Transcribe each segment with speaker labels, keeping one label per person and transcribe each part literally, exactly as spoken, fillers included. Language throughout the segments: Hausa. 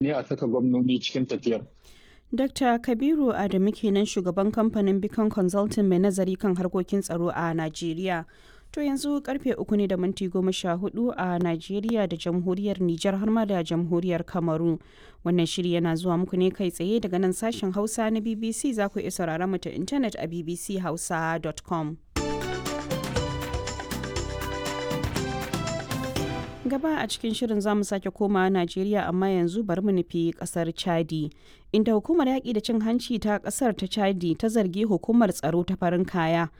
Speaker 1: Ne a saka gwamnoni cikin tafiyar.
Speaker 2: Dakta Kabiru Adamu kenan, shugaban kamfanin Beacon Consulting mai nazari kan harkokin tsaro a Najeriya. To yanzu karfe uku ne da minti goma sha hudu a Najeriya da Jamhuriyar Nijar har ma da Jamhuriyar Kamaru. Wannan shiri yana zuwa muku ne kai tsaye daga nan sashen Hausa na B B C. Za ku iya sauraron mu ta intanet a b b c hausa dot com. Gaba a cikin shirin zamu sake koma Najeriya, amma yanzu bari mu nufi kasar Chadi, inda hukumar yaƙi da cin hanci ta kasar ta Chadi ta zargi hukumar tsaro ta farin kaya,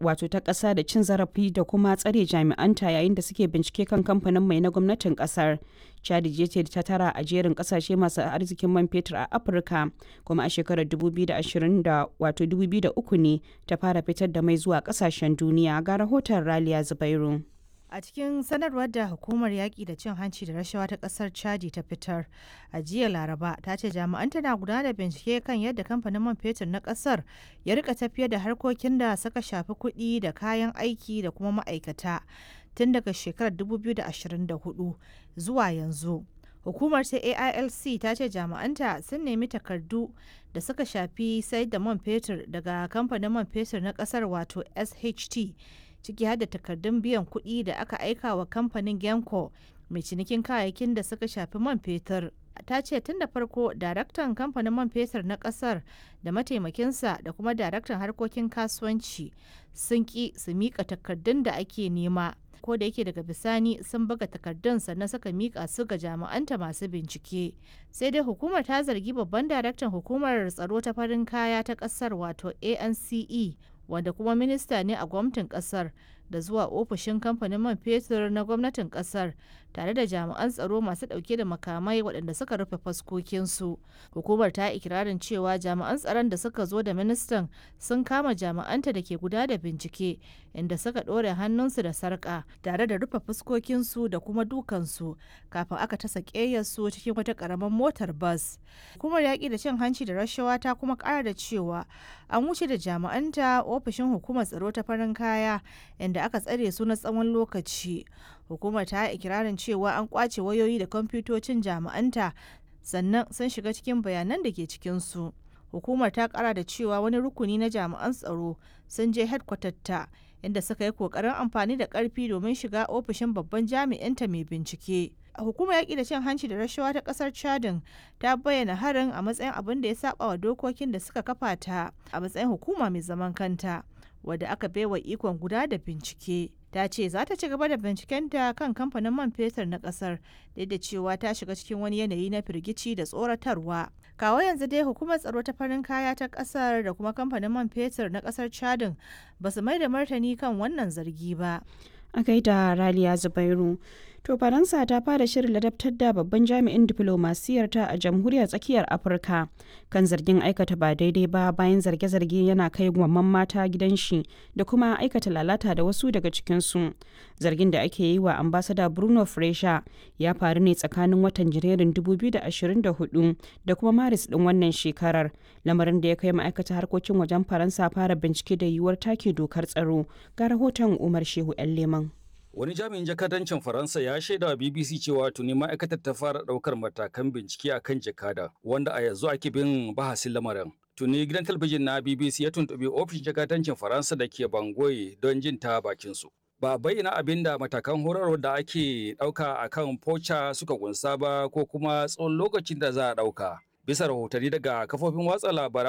Speaker 2: wato ta ƙasa, da cin zarafi da kuma tsare jami'anta yayin da suke bincike kan kamfanin mai na gwamnatin ƙasar. Chadi ce ta tara a jerin ƙasashe masu arzikin man fetur a Afirka, kuma a shekarar dubu biyu da ashirin wato dubu biyu da uku ne ta fara fitar da mai zuwa ƙasashen duniya. Ga rahoton Raliya Zubairu.
Speaker 3: A cikin sanarwar da hukumar yaƙi da cin hanci da rashawa ta ƙasar Chadi ta fitar a jiya Laraba, ta ce jami'an tana gudanar da bincike kan yadda kamfanin man fetur na ƙasar ya rika tafiyar da harkokin da suka shafi kuɗi da kayan aiki da kuma ma'aikata tun daga shekarar dubu biyu da ashirin da huɗu zuwa yanzu. Hukumar ta A I L C ta ce jami'anta sun nemi takardu da suka shafi sayar da man fetur daga kamfanin man fetur na ƙasar, wato S H T, ciki har da takardun biyan kuɗi da aka aika wa kamfanin Genco mai cinikin kayayyakin da suka shafi man fetur. Ta ce tun da farko daraktan kamfanin man fetur na kasar da mataimakinsa da kuma daraktan harkokin kasuwanci sun ki su mika takardun da ake nema, ko da yake daga bisani sun buga takardun sannan suka mika su ga jami'anta masu bincike. Sai dai hukumar ta zargi babban daraktan hukumar tsaro ta farin kaya ta kasar, wato A N C E, wanda kuma minista ne a gwamnatin kasar, da zuwa ofishin kamfanin man fetur na gwamnatin kasar tare da jami'an tsaro masu dauke da makamai waɗanda suka rufe faskokinsu. Hukumar ta ikirarin cewa jami'an tsaron da suka zo da ministan sun kama jami'anta da ke guda da bincike, inda suka ɗore hannunsu da sarƙa tare da rufe fuskokinsu da kuma dukansu kafin aka tasa ƙeyarsu cikin wata ƙaramar motar bas. Hukumar yaƙi da cin hanci da rashawa ta kuma ƙara da cewa an wuce da jami'anta ofishin hukumar tsaro ta farin kaya, inda aka tsare su na tsawon lokaci. Hukumar ta yi ikirarin cewa an kwace wayoyi da kwamfutocin jami'anta sannan sun shiga cikin bayanan da ke cikinsu. Hukumar ta kara da cewa wani rukuni na jami'an tsaro sun je ta inda suka yi kokarin amfani da karfi domin shiga ofishin babban jami'inta mai bincike. Hukumar yaƙi da cin hanci da rashawa ta ƙasar Chadin ta bayyana harin a matsayin abin da ya saba wa dokokin da suka kafa ta a matsayin hukuma mai zaman kanta wadda aka baiwa ikon guda da bincike. Ta ce za ta ci gaba da bincikenta kan kamfanin man fetur na kasar, duk da cewa ta shiga cikin wani yanayi na firgici da tsoratarwa. Kawo yanzu dai hukumar tsaro ta farin kaya ta kasar da kuma kamfanin man fetur na kasar Chadin ba su mai da martani kan wannan zargi ba.
Speaker 2: A gaida Raliya Zubairu. To, Faransa ta fara shirin ladabtar da babban jami'in diflomasiyar ta a Jamhuriyar Tsakiyar Afirka kan zargin aikata ba daidai ba, bayan zarge-zarge yana kai gwamman mata gidan shi da kuma aikata lalata da wasu daga cikinsu. Zargin da ake yi wa ambasada Bruno Fresha ya faru ne tsakanin watan Janairun dubu biyu da ashirin da huɗu da kuma Maris din wannan shekarar, lamarin da ya kai ma'aikatar harkokin wajen Faransa fara bincike da yiwuwar take dokar tsaro. Ga rahoton Umar Shehu 'Yan Leman.
Speaker 4: Wani jami'in jakadancin Faransa ya shaida wa B B C cewa tuni ma'aikatar ta fara ɗaukar matakan bincike akan jakada, wanda a yanzu ake bin bahasin lamarin. Tuni gidan talabijin na B B C ya tuntuɓi ofishin jakadancin Faransa da ke Bangui don jin ta bakin su. Ba bayyana abin da matakan horarwar da ake ɗauka a kan Pocha suka kunsa ba ko kuma tsawon lokacin da za a ɗauka. Bisa rahotanni daga kafofin watsa labaran